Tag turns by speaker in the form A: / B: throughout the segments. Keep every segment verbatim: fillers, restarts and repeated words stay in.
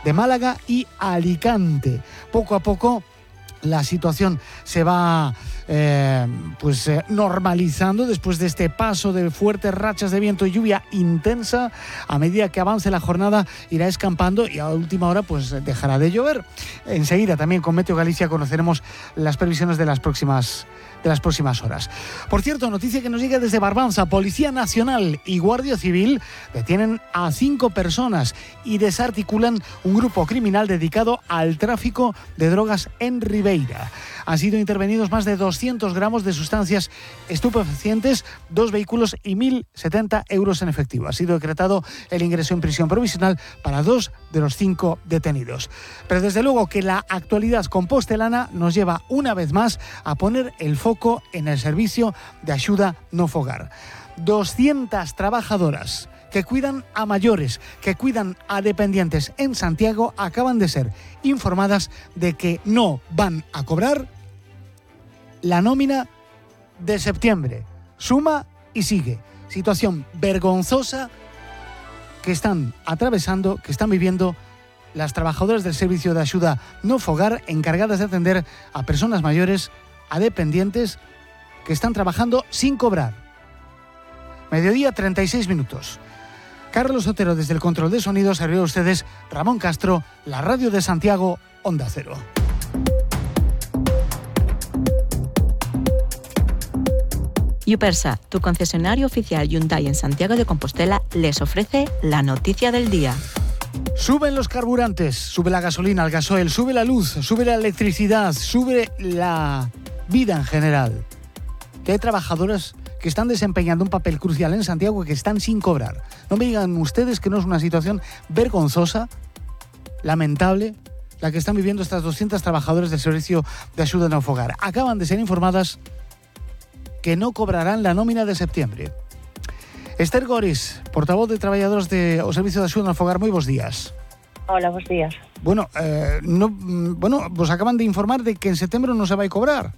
A: de Málaga y Alicante. Poco a poco la situación se va eh, pues eh, normalizando después de este paso de fuertes rachas de viento y lluvia intensa. A medida que avance la jornada irá escampando y a última hora pues dejará de llover. Enseguida también con Meteo Galicia conoceremos las previsiones de las próximas de las próximas horas. Por cierto, noticia que nos llega desde Barbanza: Policía Nacional y Guardia Civil detienen a cinco personas y desarticulan un grupo criminal dedicado al tráfico de drogas en Ribeira. Han sido intervenidos más de doscientos gramos de sustancias estupefacientes, dos vehículos y mil setenta euros en efectivo. Ha sido decretado el ingreso en prisión provisional para dos de los cinco detenidos. Pero desde luego que la actualidad compostelana nos lleva una vez más a poner el foco en el servicio de ayuda no fogar. doscientas trabajadoras que cuidan a mayores, que cuidan a dependientes en Santiago, acaban de ser informadas de que no van a cobrar la nómina de septiembre. Suma y sigue. Situación vergonzosa que están atravesando, que están viviendo las trabajadoras del servicio de ayuda no fogar, encargadas de atender a personas mayores, a dependientes que están trabajando sin cobrar. Mediodía, treinta y seis minutos. Carlos Otero desde el control de sonido, servidor a ustedes Ramón Castro, la radio de Santiago, Onda Cero.
B: Yupersa, tu concesionario oficial Hyundai en Santiago de Compostela, les ofrece la noticia del día.
A: Suben los carburantes, sube la gasolina, el gasoil, sube la luz, sube la electricidad, sube la vida en general. Que hay trabajadoras que están desempeñando un papel crucial en Santiago y que están sin cobrar. No me digan ustedes que no es una situación vergonzosa, lamentable, la que están viviendo estas doscientas trabajadoras del servicio de ayuda no fogar. Acaban de ser informadas que no cobrarán la nómina de septiembre. Esther Goris, portavoz de traballadores de o Servicio de Axuda no Fogar, moi bons días.
C: Hola, bons días.
A: Bueno, eh, no, bueno, vos acaban de informar de que en setembro non se vai cobrar.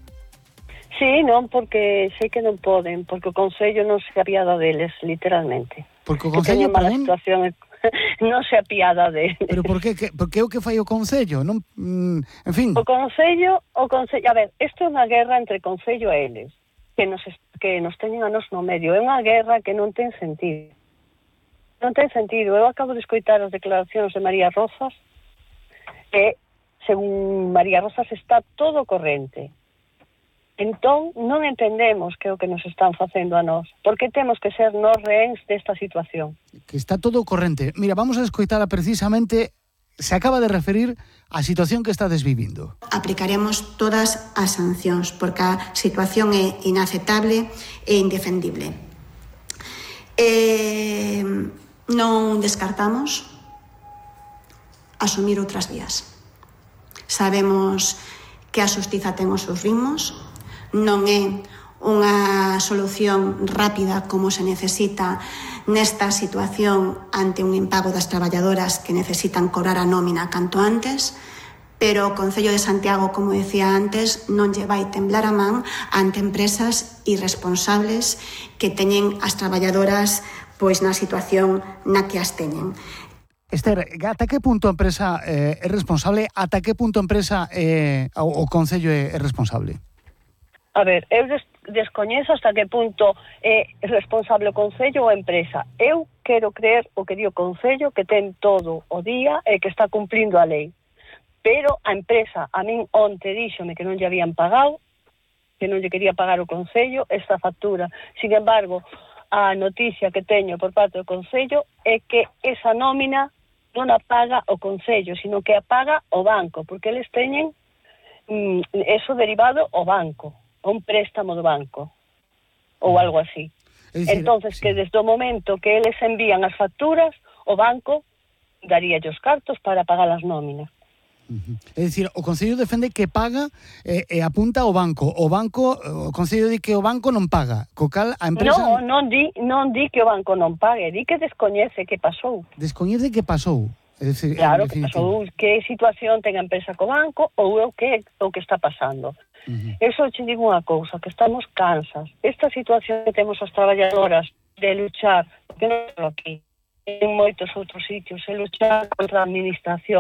C: Sí, non, porque sei que non poden, porque o Concello non se apiada deles, literalmente.
A: Porque o Concello,
C: perdón? Situación, non se apiada deles.
A: Pero por que, que, por que o que fai o Concello? Non, mm, en fin.
C: O Concello, o Concello, a ver, isto é unha guerra entre Concello e eles, que nos, que nos teñen a nos no medio. É unha guerra que non ten sentido. Non ten sentido. Eu acabo de escoitar as declaracións de María Rozas, e, según María Rozas, está todo corrente. Entón, non entendemos que é o que nos están facendo a nós. Por que temos que ser nós rehéns desta situación?
A: Que está todo corrente. Mira, vamos a escoitala precisamente. Se acaba de referir á situación que estades vivindo.
D: Aplicaremos todas as sancións, porque a situación é inaceptable e indefendible. Eh, non descartamos asumir outras vías. Sabemos que a xustiza ten os seus ritmos, non é unha solución rápida como se necesita nesta situación ante un impago das traballadoras que necesitan cobrar a nómina canto antes, pero o Concello de Santiago, como decía antes, non lle vai temblar a man ante empresas irresponsables que teñen as traballadoras pois na situación na que as teñen.
A: Esther, ata que punto a empresa eh, é responsable? Ata que punto a empresa eh, o, o Concello é, é responsable?
C: A ver, eu des- descoñezo hasta que punto é responsable o Concello ou a empresa. Eu quero creer o que di o Concello, que ten todo o día e que está cumplindo a lei. Pero a empresa, a min onte díxome que non lle habían pagado, que non lle quería pagar o Concello esta factura. Sin embargo, a noticia que teño por parte do Concello é que esa nómina non a paga o Concello, sino que a paga o banco, porque eles teñen mm, eso derivado ao banco, un préstamo do banco ou algo así.
A: Es decir,
C: entonces
A: sí.
C: Que desde o momento que eles envían as facturas, o banco daría os cartos para pagar as nóminas.
A: Uh-huh. É dicir, o Concello defende que paga e, e apunta ao banco. O banco, o Concello di que o banco non paga. Co cal a empresa
C: Non, non di, non di que o banco non pague, di que descoñece que pasou.
A: descoñece que pasou. É dicir,
C: Claro,
A: en
C: que
A: definitivo.
C: pasou, que situación ten a empresa co banco ou o que o que está pasando.
A: Uh-huh.
C: Eso che digo unha cousa, que estamos cansas. Esta situación que temos as traballadoras de luchar, porque non é aquí, en moitos outros sitios, é luchar contra a administración,